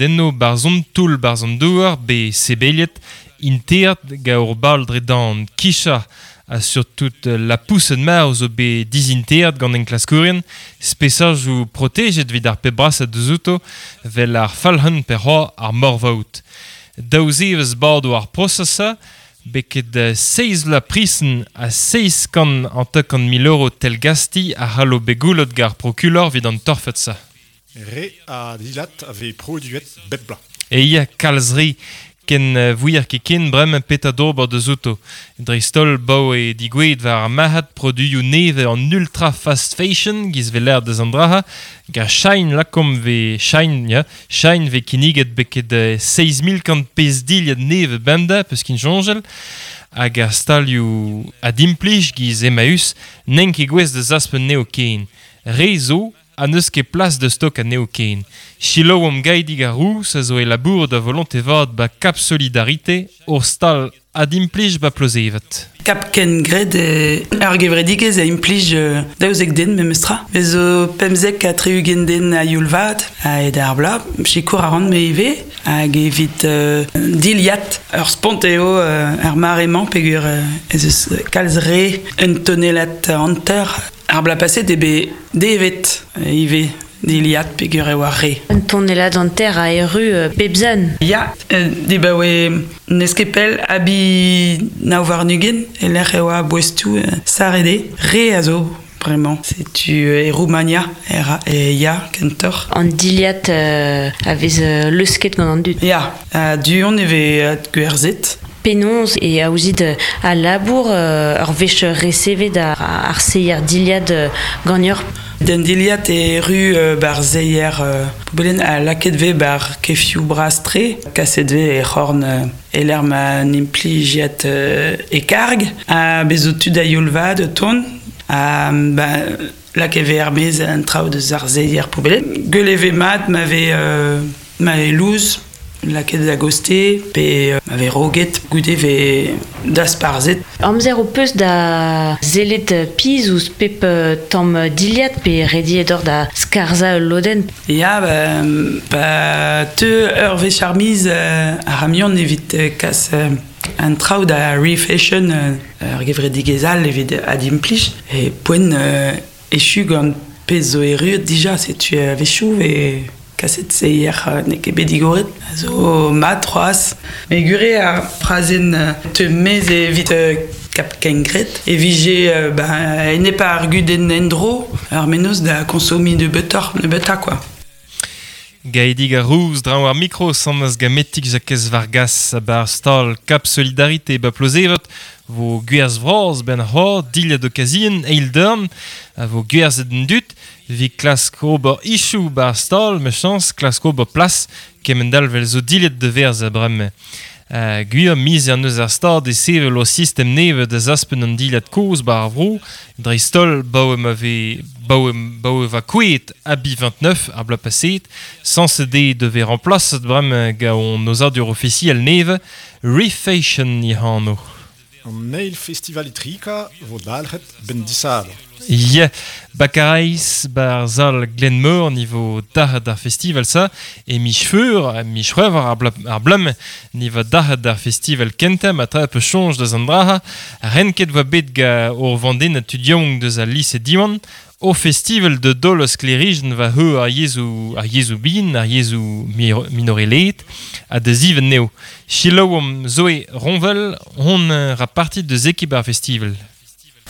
Enno barzh an toull barzh an douar bet sebeliet inteat gant ur bal dre dan kichañ ha surtout lapoused marv zo bet dizinteat gant enklaskourien spesajoù protejet evit ar pep brasañ deus outo 'vel ar falc'hun pe c'hoazh ar morvaout. Daou zevezh bado ar prosez-se beket seizh vloaz prison ha 750,000 euro tell-gastiz a c'hallo bet goullet gant ar prokulor evit an torfed-se. Re a dilhad a vez produet bep bloaz. E ya kalz re ken vouier ket ken bremañ petra d'ober deus outo. Dreist-holl 'baoe digouezhet war ar marc'had produioù nevez an ultra fast fashion giz 'vez lâret deus an dra-se gant Shein lakaomp 'vez Shein ya Shein 'vez kinniget beket 7100 pezh dilhad nevez bemdez peus kin soñjal hag ar stalioù adimplij giz Emmaüs n'int ket gouest da zaspen anezho ken. Re zo ha n'eus ket plas da stokañ anezho ken. Selaouomp Gaedig ar Rouz a zo e labourat a volonte vat 'ba Cap Solidarité, ur stal adimplij 'ba Plozeved. Cap Kengred ur gevredigezh a implij 12 den memestra. Bez zo 75 den a-youl vat a-hed ar bloaz. Sikour a ran me ivez hag evit dilhad. Ur spont eo ar mare-mañ peogwir ez eus kalz re un tonellad hanter. Ar bloaz paset eo bet devet ivez dilhad peogwir e oa re. Un tonellad hanter a erru bep zan. Ya, dibaoe n'eus ket pell abi 29 e-lec'h e oa boestoù sarret eo. Re a zo bremañ. Setu e Roumania e ya kentoc'h. An dilhad a vez leusket gant an dud. Ya, du-hont e vez gwerzhet. Penaos e aozit al labour ur wech resevet ar seier dilhad ganeoc'h? Den dilhad e erru 'bar seier poubellenn ha lakaet 'vez 'bar kefioù bras-tre. Kaset 'vez e c'horn e-lec'h ma n'implijiad e karg. Ha bez zo tud a-youl vat o tont. Ha ba lakaet 'vez er-maez an traoù deus ar seier poubellenn. Gwell e vez mat ma vez ma vez lous. Lakaet a-gostez pe ma vez roget goude 'vez dasparzhet. Amzer ho peus da sellet pizh ouzh pep tamm dilhad pe rediet oc'h da skarzhañ ul lodenn? Ya, pa teu ur wech ar miz ar c'hamion evit kas an traoù da refashion ur gevredigezh all evit adimplij e poent echu gant pezh zo erruet dija setu a-wechoù e kaset seier n'eo ket bet digoret a zo mat c'hoazh. Met gwir eo ar frazenn teu maez evit Kap Kengred e vije ba enep ar gudenn endro ar mennozh da konsomiñ nebeutoc'h nebeutañ kwa. Gaedig ar Rouz draoñ ar mikro sammas gametik Jakez Vargas a-barzh stal Cap Solidarité 'ba Plozeved 'vo gwerzh vras 'benn c'hoazh dilhad okazien eil dorn a vo gwerzhet d'an dud 'vit klask ober ichoù 'ba ar stal mechañs klask ober plas kement-all 'vel zo dilhad da werzhañ bremañ. Gwir miz an eus ar stad e sevel o sistem nevez da zaspen an dilhad kozh 'ba ar vro dreist-holl 'baoe ma vez 'baoe 'baoe 'va kouezhet Abi 29 ar bloaz paseet sañset eo da vezañ remplaset bremañ gant hon aozadur ofisiel nevez Refashion e anv. An eil festival Itrika 'vo dalc'het 'benn disadorn. Ya, 'ba Karaez, 'ba ar sal Glenmor ni 'vo dalc'het ar festival-se e miz Feur, miz C'hwevrer ar bloaz ni 'vo dalc'het ar festival kentañ ma tra 'peus soñj deus an dra-se. Renket 'voa bet gant ur vandennad tud yaouank deus al lise Diwan O festival da daol sklêrijenn war heu ar yezhoù ar yezhoù bihan, ar yezhoù minorelaet ha da zivenn eo. Selaouomp Zoé Ronvel, hon raparti deus ekip ar festival.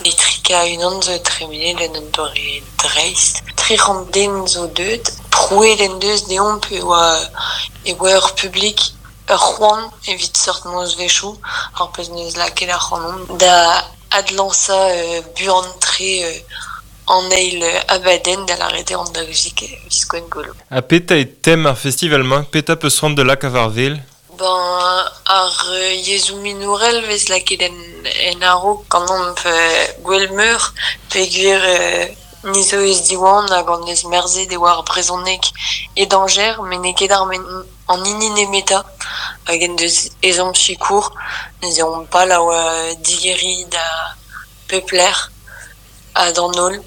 Etrika unan zo tremenet en un doare dreist. 300 den zo deuet. Prouet en deus deomp e oa e oa ur publik ur c'hoant evit seurt nozvezhioù, ar pezh 'neus lakaet ac'hanomp da adlañsañ buan-tre an eil abadenn da lâret eo an 12 viz Gwengolo. Ha petra eo tem ar festival-mañ? Petra 'peus c'hoant da lakaat war wel? Ben, ar yezhoù minorel 'vez lakaet en, en a-raok ganeomp Gwelmeur peogwir ni zo eus Diwan hag an eus merzet e oa ar brezhoneg e dañjer met n'eo ket ar an hini nemetañ hag en deus ezhomm sikour. Neuze omp pal a oa digeriñ da pep lec'h ha d'an holl.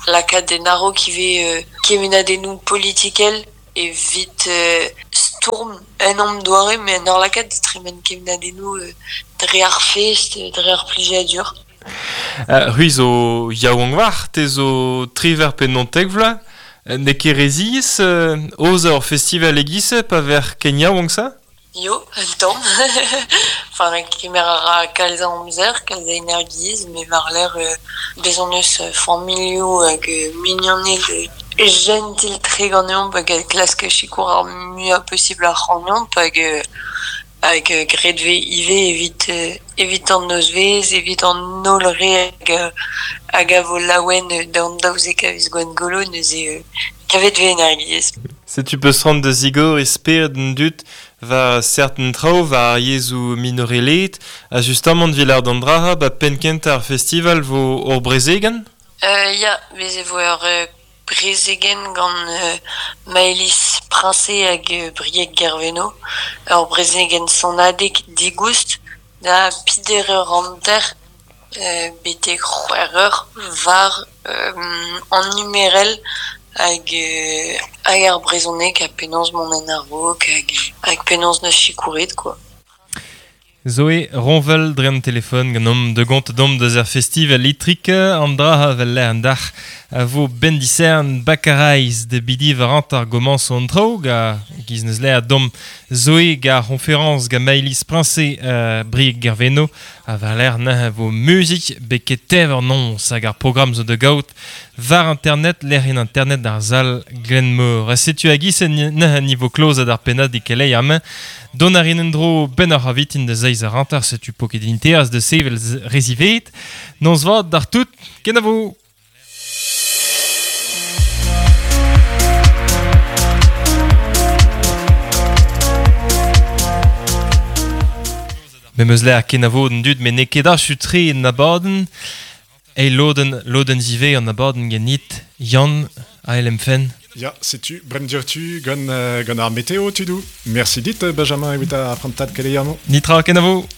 Lakaat en a-raok ivez kemennadennoù politikel evit stourm. en am doare, me en ur lakaat da tremen kemnadennoù dre ar fest, dre ar plijadur. C'hwi zo yaouank war, te zo triver pe nontek vloaz, n'eo ket re ziaes aozañ ur festival e-giz-se pa ver ken yaouank sa? Yo, un tamm. Enfin, kemer a ra kalz a amzer, kalz a energiezh, met war-lerc'h bez hon eus familhoù hag mignoned jentil-tre ganeomp hag a klask sikour ar muiañ posibl ac'hanomp hag hag graet 'vez ivez evit evit an nozvezh, evit an holl re hag hag a vo laouen d'an 12 a viz Gwengolo neuze kavet 'vez energiezh. Setu peus c'hoant da zigoriñ spered an dud war serten traoù war ar yezhoù minorelaet ha justamant evit lâret an dra-se 'ba penn-kentañ ar festival 'vo ur brezegenn? Ya, bez e vo ur brezegenn gant Maëlys Princé hag Brieg Guerveno. Ur brezegenn sonadeg digoust da peder eur hanter betek c'hwec'h eur war an numerel hag hag ar brezhoneg ha penaos mont en a-raok hag hag penaos 'neus sikouret quoi. Zoé Ronvel dre an telefon ganeomp da gont domp deus ar festival Itrik an dra vel lec'h an dac'h a vo ben disern Baccarais da bidi war hanter gomañs an traoù ga giz neus lec'h domp Zoé ga ar c'hoñferañs ga Maëlys Princé Brieg Gerveno ha war-lerc'h neuze vo muzik beket tev an noz hag ar programm zo da gaout war internet lec'hienn internet ar sal Glenmor. Ha setu a-giz neuze nivo klozet ar pennad e keleier amañ. Dont a rin en-dro benn ar avitin da zeiz ar hanter, setu po ket inteaz da sevel re ziwezhat. Noz vat d'ar tout, kenavo! Me 'meus lec'h kenavo d'an dud met n'eo ket achu-tre en abadenn. Eil lodenn, lodenn zivez an abadenn ganit, Yann, ael em fenn. Ya, setu, brem diouzhtu gant, gant ar meteo, tudoù. Merci dit, Benjamin, evit ar prantad keleier-mañ. Nitra, kenavo!